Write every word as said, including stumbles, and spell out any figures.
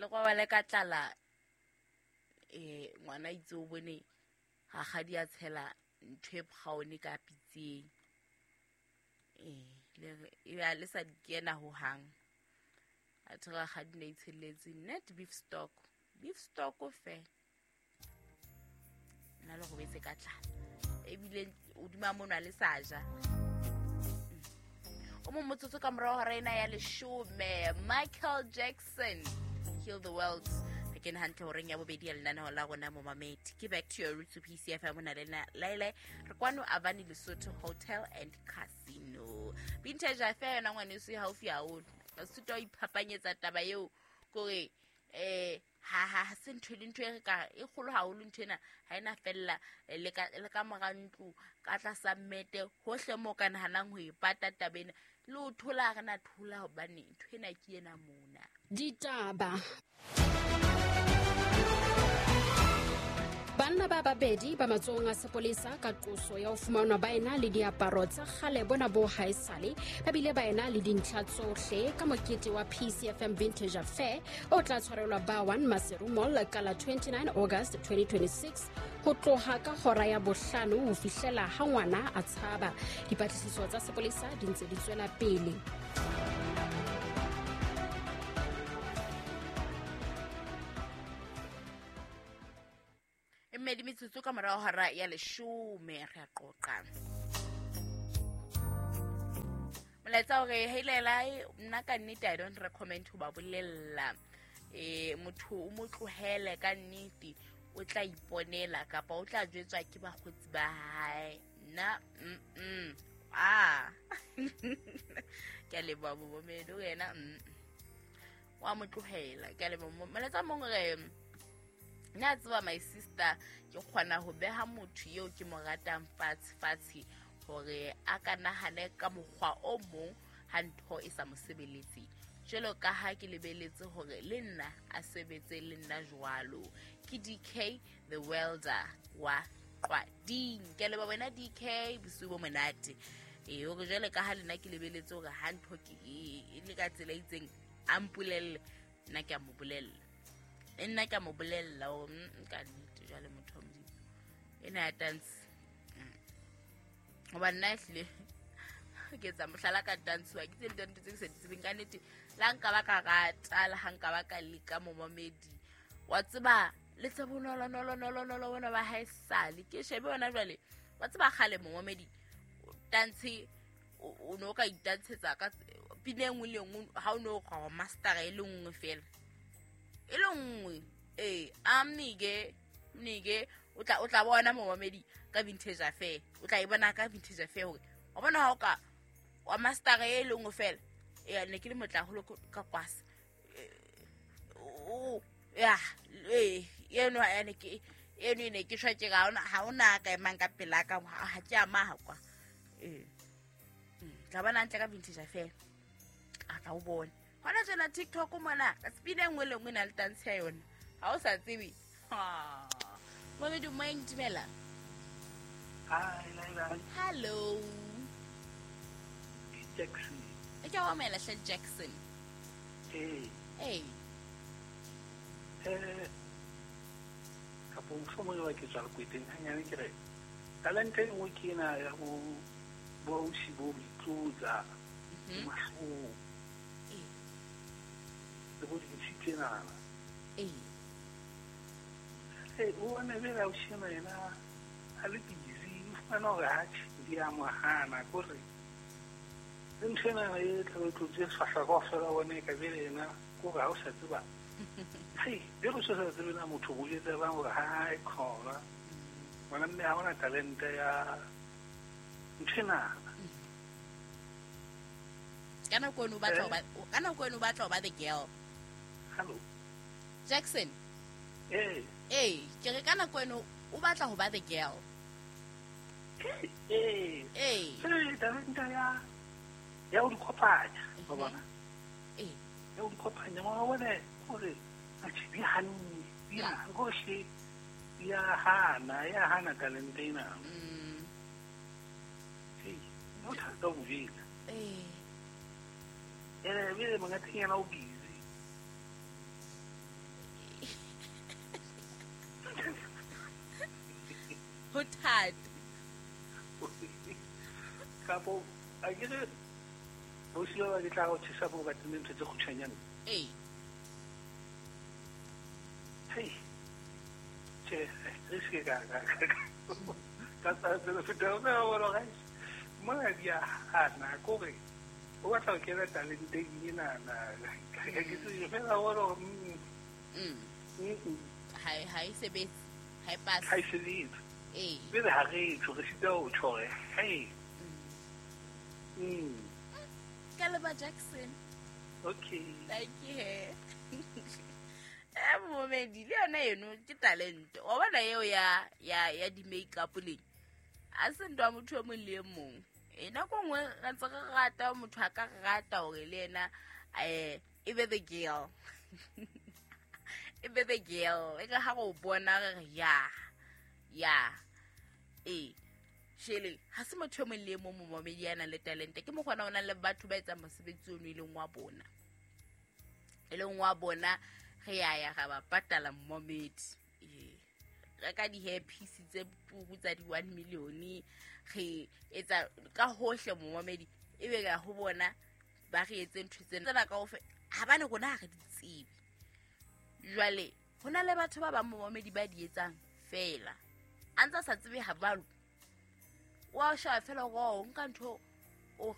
Le robale ka tlala eh ngwana itse o bone rakgadi a tshela ntho e brown ka pitseng. Eh le e le sa di kena ho hang. Athe rakgadi ne itshelletse net beef stock. Beef stock o fe. Nna le robetse ka tlala. Ebile o duma mona le sa ja. O mo motsotso ka morao hora ena ya leshome. Michael Jackson, Heal the World. Re kene hantle horeng ya bobedi ya lenaneo la rona momamedi. Ke Back to Your Roots P C F M mona le nna Laila. Re kwano Avani Lesotho Hotel and Casino. Vintage Affair yona ngwaneso e haufi haholo. Basotho ba iphapanyetsa taba eo kore eh ha ha ha se ntho le ntho e re ka e kgolo haholo ntho ena ha ena fella le ka le ka mora ntlo ka tlasa mmete hohle mo ka nahanang ho e pata taba ena le o thola re na thola hobane ntho ena ke ena mona. Ditaba. Banna ba babedi ba matsohong a sepolesa ka qoso ya ho fumanwa ba ena le diaparo tsa kgale bona bo haesale ba bile ba ena le dintlha tsohle ka mokete wa P C F M Vintage Affair o tla tshwarelwa ba one Maseru Mall ka la twenty-nine August twenty twenty-six ho tloha ka hora ya bohlano ho fihlela ha ngwana a tshaba. Dipatlisiso tsa sepolesa di ntse di tswela pele. Mmedi metsotso ka morao hora ya leshome re a qoqa. Molaetsa hore heilela nna ka nnete I don't recommend ho ba bolella. Eh motho o mo tlohele ka nnete o tla iponela kapa o tla jwetswa ke bakgotsi ba hae. Nna mm mm ah ke a leboha momamedi wena mm wa mo tlohela ke a leboha. Molaetsa mong re nna tseba my sister ke kgona ho beha motho eo ke mo ratang fatshe fatshe hore a ka nahane ka mokgwa o mong ha ntho e sa mo sebeletse. Jwalo ka ha ke lebeletse hore le nna a sebetse le nna jwalo. Ke D K the welder wa Qwading. Ke leboha wena D K bosiu bo monate. Eh hore jwale ka ha le nna ke lebeletse hore ha ntho ke e le ka tsela e itseng a mpolelle nna ke a mo bolella. Nna ka mo bolella o ka nnete jwale motho wa Modimo ena ya dance hoba nna ehlile ke etsa mohlala ka dance wa ke tse dintho tse ke sa di tsebeng ka nnete. La nka ba ka rata le ha nka ba ka leka momamedi wa tseba le tse bonolo nolo nolo nolo bona ba haesale ke shebe yona jwale wa tseba kgale momamedi dance o no ka itantshetsa ka pina e nngwe le nngwe ha o no go master e le nngwe fela e le nngwe eh a mnike mnike o tla o tla bona momamedi ka Vintage Affair o tla e bona ka Vintage Affair hore wa bona ha o ka wa master e le nngwe fela eh ne ke le motla holo ka kwasa o ya eh eno ene ke eno ne ke shwa ke ga ona ha ona ka emang ka pela ka ha ke ama ha kwa eh tla bona ntle ka Vintage Affair a tla o bona hona tsena TikTok mona ka spina nngwe le nngwe na le dance ya yona ha o sa tsebe. Ha momedi moeng dumela. Hi Laila. Hello Jackson. E ke wa mela hle Jackson. Eh eh eh ka bo mohlomong wa ke tswa kweteng hanyane ke re talente e nngwe ke ena ya bo bo ausi bo boitlotsa mahlong le bo dintshi tsenana. Eh eh o ne be la ausi ena a le busy o fumana hore atjhe di a mo hana kore le ntho ena e tla tlotse sefahla kaofela bone ka bele ena kore ha o sa tseba hei be go sa tsebe na motho o jwetsa bang hore ha e khona ngwana mme ha ona talente ya ntho ena. Ka nako eno o batla ho ba ka nako eno o batla ho ba the girl. Hello Jackson. Eh eh ke re ka nako eno o batla ho ba the girl. Eh eh eh talente ya ya o di kopanya wa bona eh ya o di kopanya wa bona hore a tshi di hanne di a gohle ya hana ya hana talente ena. Mm eh no thata ho jwetsa eh ene bile mongateng yena o busy. Kapo akere bosiwa ba ke tla go tshisa bo ba tene ntho tse khutshwanyane. Ee. Hey. Che, re se ka ka ka ka tsa feta o ka bona ga mona di a hana kore o batla ho kena talenteng enana ke se fela gore mm mm mm ha e ha e sebetse, ha e passe. Ha e sebetse. Ee. Pele ha re tjho re sita ho tjho hore hey. Mm. Mm. Ka leba Jackson. Okay. Thank you. He eh momedi le yona eno ke talente wa bona eo ya ya ya di-makeup leng a se ntho ya motho e mong le e mong. E nako nngwe re ntse re rata motho a ka rata hore le yena um e be the girl, e be the girl e ka ha re o bona re re ya ya ee shele ha se motho e mong le e mong momamedi ya nang le talente. Ke mokgona o nang le batho ba etsang mosebetsi ono e leng wa bona, e leng wa bona re ya ya ra ba patala momamedi. Ee, reka di-hair piece tse turu tsa di-one million, re etsa ka hohle momamedi, ebe ka ho bona ba re etse ntho tsena tsena kaofela habane rona ha re di tsebe. Jwale ho na le batho ba bang momamedi ba di etsang feela a ntse a sa tsebe ha balo wa sheba feela hore o nka ntho o